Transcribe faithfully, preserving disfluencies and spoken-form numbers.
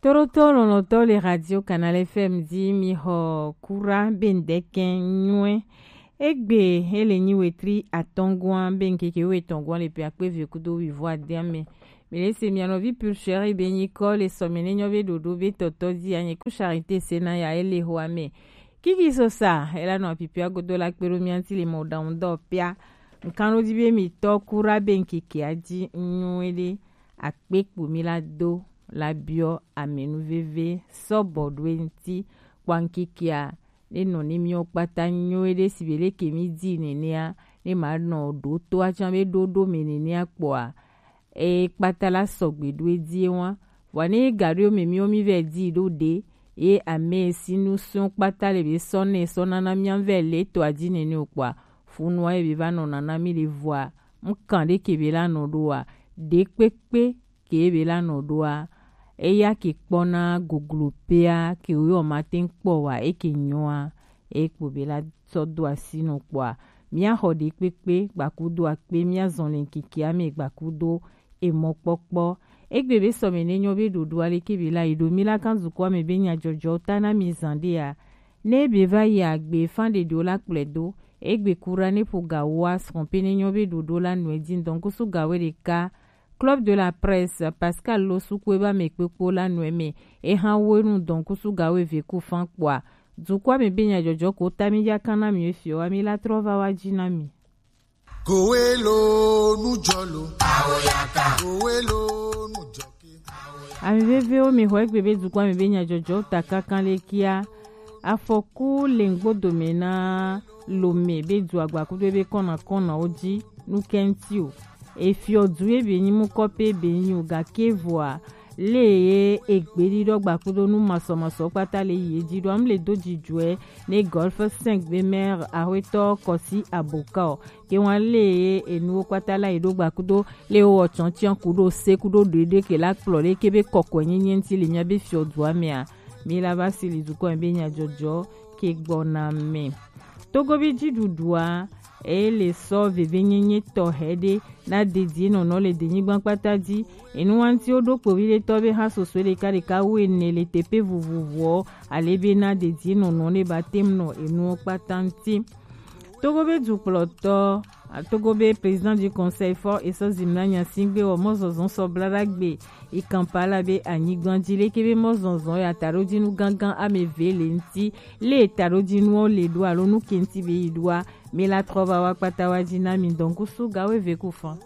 Toroto lɔlɔtɔ le Radio Canal F M di mi xɔ kura be ŋdɛkɛ nyuɛ. Egbe ele nyi wetri atɔngua be ŋkeke wetɔngua le pe akpe ve kudo wivo adea me. Mi le se mia nɔvi pulcheri be nyi kɔ le sɔme ne nyɔ be ɖoɖo be tɔtɔ di anye ku charité se na ya ele ho ame. Kiki sosa ela nɔ apipia godo la kpe ɖo mia ŋti le mɔ ɖaŋu dɔ pia. Ŋkan ɖo di be mi tɔ kura be ŋkeke a di nyuɛ ɖe. Akpe kpo mi la do la biɔ amenuveve sɔbɔ ɖo eŋti kpɔ ŋkekea ne nɔ ne miɔ kpata nyuie ɖe si be leke mi di nenea ne ma nɔ ɖo to atsã be ɖo ɖo me nenea kpɔa e kpata la sɔgbe ɖo edie wa vɔa ne ga ɖo me miɔ mi vɛ di ɖo ɖe ye ame si nu sɔ kpata le be sɔ ne sɔ nana mia vɛ le to adi nene o kpɔa funua ye be va nɔ nana mi le vɔa ŋkan ɖe ke be la nɔ ɖoa ɖe kpekpe ke be la nɔ ɖoa eya ke kpɔna goglo pea ke wo yɔ ma te kpɔ wa e ke nyɔa e kpo be la sɔ do asi nɔ kpɔa mia xɔ ɖe kpekpe gbakudo akpe mia zɔn le ŋkeke ame gbakudo emɔ kpɔkpɔ egbe be sɔme ne nyɔ be ɖoɖo ale ke be la yi ɖo mi la kan zukɔ ame be nya jɔjɔ ta na mi zan ɖe ya ne be va yi agbe fan ɖe ɖo la kplɛ do egbe kura ne ƒo ga wo asrɔ̃ pe ne nyɔ be ɖoɖo la nɔe di ŋdɔn kusu ga wo ɖeka Club de la Presse, Pascal Losukwe ba me kpekpo la nɔe me. Eha wo nu dɔn kusu ga wo eve ku fan kpɔa. Dukɔa me be nya jɔjɔ ko ta mi ya kan na mi efio wa mi la trɔ va wa ji na mi. Kowe lo nu jɔ lo. Awoyaka. Kowe lo nu jɔ ke. Ami vevewo mi xɔ egbe be dukɔa me be nya jɔjɔ ta kankan le kia. Afɔku le ŋgbodo me na Lome be du agbakudo ebe kɔna kɔna wo ji nu kɛnti o. Efiɔ du ebe nyi mu kɔpe ebe nyi o gake vɔa le ye egbe ɖiɖɔ gbakudo nu masɔmasɔ kpata le yi edzi ɖo am le do dzidzɔe ne Golf cinq be maire ahwetɔ kɔsi aboka o ke wan le ye enuwo kpata la yi ɖo gbakudo le wo wɔ tsɔntsian ku ɖo se ku ɖo ɖoeɖe ke la kplɔ ɖe ke be kɔkɔe nyenye ŋti le mia be fiɔ dua mea mi la va si li dukɔ be nya jɔjɔ ke gbɔna me. Togovi dziɖuɖua eye le sɔ vevenyenye tɔxɛ ɖe na dedie nɔnɔ le denyigba kpata dzi. Enuwantiwo ɖo kpovi ɖe tɔ be hã soso ɖeka ɖeka wu ene le teƒe vovovoɔ ale be na dedie nɔnɔ ne ba tem nɔ enuwo kpata ŋti. Togo be dukplɔtɔ Togo be président du conseil fort esɔ zimna nyasigbe wɔ mɔzɔzɔ sɔ blaɖagbe yi Kampala be anyigba dzi leke be mɔzɔzɔ ya taɖodinu gangan ame eve le ŋti le taɖodinuwo le ɖo alo nu ke ŋti be yi ɖoa mi la trɔ va wa kpata wa dzi na mi dɔnkusu gawo eve ku fan.